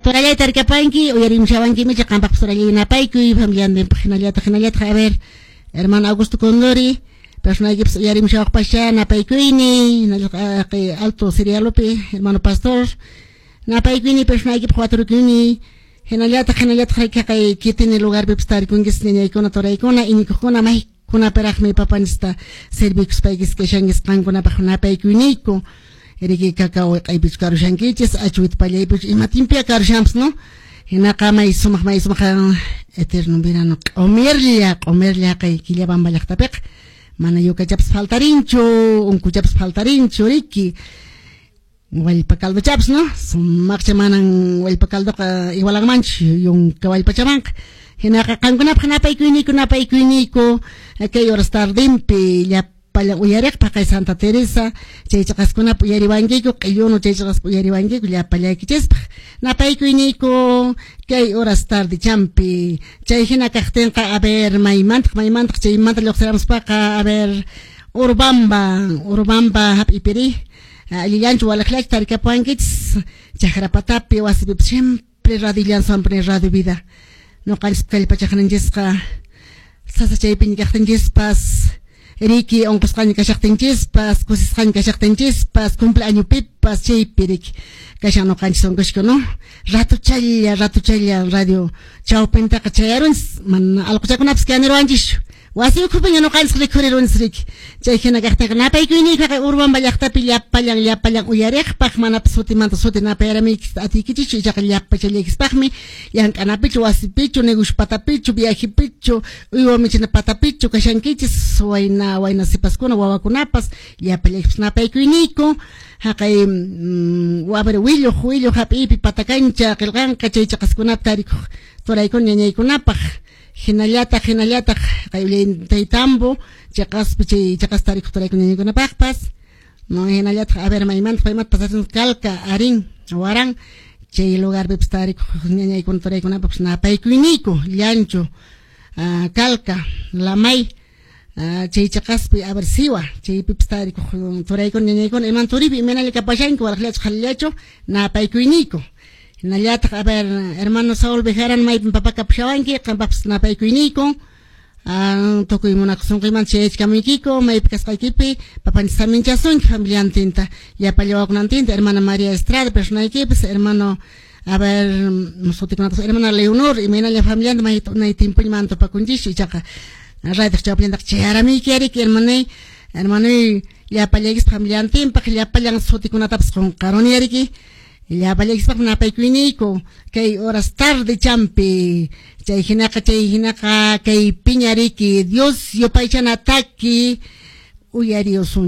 Turallayta tarikapanki, uyarimushawanki qampaqpas turallay napaykuy, familiantinpaq hinallataq hinallataq a ver, hermano Augusto Condori, personaykipas uyarimushawaqpascha napaykuyni, hinallataq Alto Sirialopi, hermano pastor, napaykuyni personaykipaq waturukuyni, hinallataq hinallataq kay kitini lugarpipas tarikunkis ñañaykuna turaykuna iñikuqkuna maykunapiraqmi papanchista servikuspaykis kashankis qankunapaq napaykuyniku. Riki cacao wiq'aypichu karushankichis, achuwita pallaypichu ima tiempoya karushanpas, no? Hinaqa may sumaq eterno verano q'umirlla q'umirlla kay Quillabamba llaqtapiqa mana yukachapas faltarinchu, unkuchapas faltarinchu riki. Wallpa caldochapas, no? Sumaqcha manan wallpa caldoqa igualanmanchu yunka wallpachamanqa. Hinaqa qankunapaq napaykuyniku napaykuyniku kay horas tardinpi llapallan uyariqpaq kay Santa Teresa chay chaqaskunapa uyariwankiku q'illunu chay chaqaspa uyariwankiku llapallaykichispaq napaykuyniku kay horas tarde champi chay hina kaqtinqa a ver maymantaq maymantaq chaymanta lluqsiramuspaqa a ver Urubamba Urubamba hap'ipiri allillanchu walaqllachu tarikapuwankichis chakrapatapi wasipipas siempre radillan siempre radio vida ñuqanchis kallpachaqninchisqa sasachaypiña kaqtinchispas riki unqusqaña kashaqtinchispas kusisqaña kashaqtinchispas cumpleañopipas chaypi riki kashan ñuqanchis unqushka, no? Ratuchalla ratuchalla radio chawpintaqa chayarunchis mana allquchakunapas kaniruwanchischu wasi ukhupiña ñuqanchis rikhurirunchis riki chay hina kaqtinqa napaykuyniykqa Urubamba llaqtapi llapallan llapallan uyariqpaq manapas sutimanta suti napayaramuykis atiykichischu ichaqa llapachallaykispaqmi llank'anapichu wasipichu negocio patapichu viajepichu uywa michina patapichu kashankichis wayna wayna sipaskuna wawakunapas llapallaykipas napaykuyniku haqay a ver willuq willuq hap'iypi patakancha qillqanqa chay chaqaskunapi tarikuq turaykuna ñañaykunapaq hinallataq hinallataq kay Ollantaytambo chaqaspi chay chaqas tarikuq turaykuna ñañaykunapaqpas no hinallataq a ver maymanta paymanta pasachun Calca Arín Huarán chay lugarpipas tarikuq ñañaykuna turaykunapaqpas napaykuyniku Llancho Calca Lamay chay chaqaspi a ver Siwa chaypipas tarikuq turaykuna ñañaykuna iman turipi imaynalla kapashanki walaqllachu qhalillachu napaykuyniku hinallataq a ver hermano Saúl Bejarano maypin papa kapushawanki qampaqpas napaykuyniku tukuy munakusunqiymanta chayachkamuykiku maypi kasqaykipi papanchis saminchasunki familiantinta llapalla wawakunantinta hermana María Estrada personaykipas hermano a ver sutikunata hermana Leonor imaynalla familianta may unay tiempoña mana tupakunchischu ichaqa radioj chawpillantaqa chayaramuyki ariki hermanay hermanoy llapallaykispaq familiantinpaq llapallan sutikunatapas qunqaruni ariki llapallaykispaq napaykuyniku kay horas tarde champi chay hinaqa kay piña riki Dios yupaychana taki uyariusun.